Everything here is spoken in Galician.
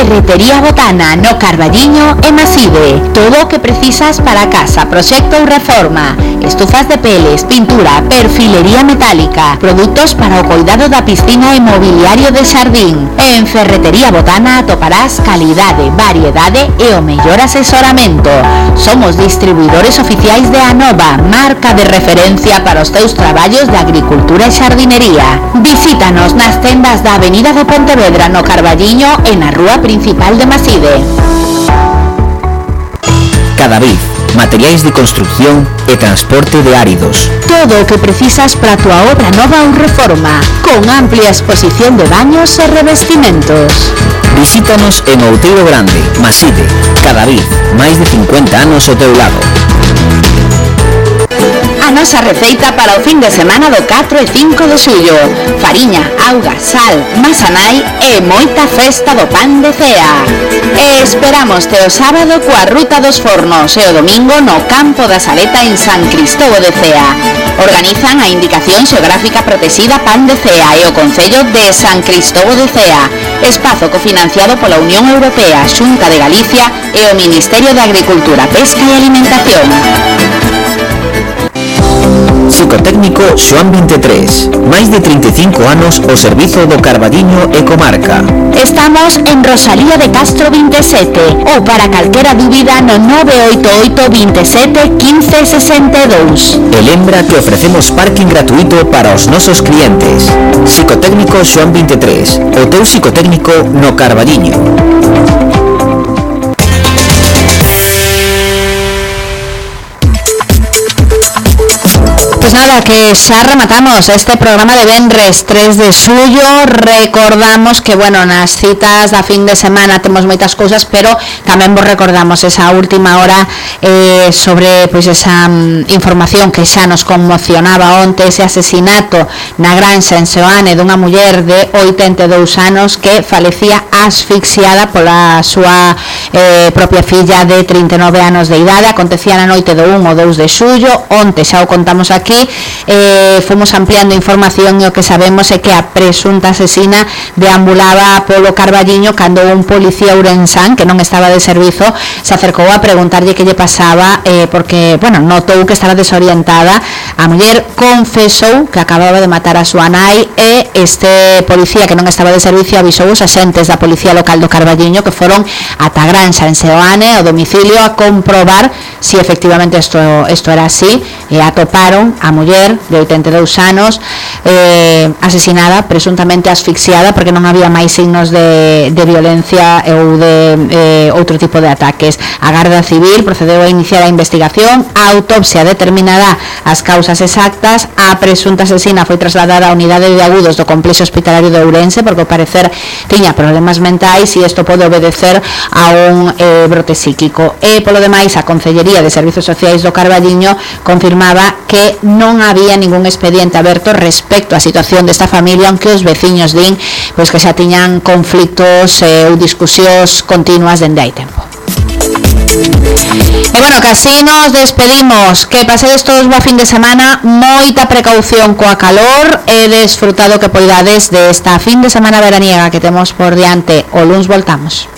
Ferretería Botana no Carballiño e Maside. Todo o que precisas para casa, proxecto ou reforma. Estufas de peles, pintura, perfilería metálica, produtos para o cuidado da piscina e mobiliario de xardín. En Ferretería Botana atoparás calidade, variedade e o mellor asesoramento. Somos distribuidores oficiais de Anova, marca de referencia para os teus traballos de agricultura e xardinería. Visítanos nas tendas da Avenida de Pontevedra no Carballiño e na Rúa Principal de Maside. Cadavid, materiais de construcción e transporte de áridos. Todo o que precisas para a tua obra nova ou reforma, con amplia exposición de baños e revestimentos. Visítanos en Outeiro Grande, Maside. Cadavid, máis de 50 anos ao teu lado. A nosa receita para o fin de semana do 4 e 5 de xullo: fariña, auga, sal, masa nai e moita festa do pan de cea. E esperámoste o sábado coa Ruta dos Fornos e o domingo no Campo da Saleta en San Cristóbal de Cea. Organizan a Indicación Xeográfica Protexida Pan de Cea e o Concello de San Cristóbal de Cea. Espazo cofinanciado pola Unión Europea, Xunta de Galicia e o Ministerio de Agricultura, Pesca e Alimentación. Psicotécnico Xoán 23, máis de 35 anos ao servizo do Carballiño e comarca. Estamos en Rosalía de Castro 27 ou para calquera dúbida no 988 27 15 62. E lembra que ofrecemos parking gratuito para os nosos clientes. Psicotécnico Xoán 23, o teu psicotécnico no Carballiño. Pues nada, que xa rematamos este programa de venres 3 de xullo. Recordamos que, bueno, nas citas da fin de semana temos moitas cousas, pero tamén vos recordamos esa última hora sobre pois esa información que xa nos conmocionaba onte, ese asesinato na granxa en Seoane dunha muller de 82 anos que falecía asfixiada pola súa propia filla de 39 anos de idade. Acontecía na noite do 1 ou 2 de xullo. Onte xa o contamos aquí. Fomos ampliando información e o que sabemos é que a presunta asesina deambulaba polo Carballiño cando un policía ourensán que non estaba de servizo se acercou a preguntarlle que lle pasaba, porque, bueno, notou que estaba desorientada. A muller confesou que acababa de matar a súa nai e este policía que non estaba de servicio avisou os axentes da policía local do Carballiño que foron ata a granxa en Seoane, ao domicilio, a comprobar si efectivamente isto era así, e atoparon a muller de 82 anos asesinada, presuntamente asfixiada, porque non había máis signos de violencia ou de outro tipo de ataques. A Garda Civil procedeu a iniciar a investigación, a autopsia determinará as causas exactas. A presunta asesina foi trasladada á unidade de agudos do complexo hospitalario de Ourense porque ao parecer tiña problemas mentais e isto pode obedecer a un brote psíquico. E polo demais, a Concellería de Servizos Sociais do Carballiño confirmaba que non había ningún expediente aberto respecto á situación desta familia, aunque os veciños din pois que xa tiñan conflitos ou discusións continuas dende hai tempo. E bueno, que así nos despedimos. Que pasedes todos boa fin de semana, moita precaución coa calor e desfrutado que poidades desta fin de semana veraniega que temos por diante. O luns voltamos.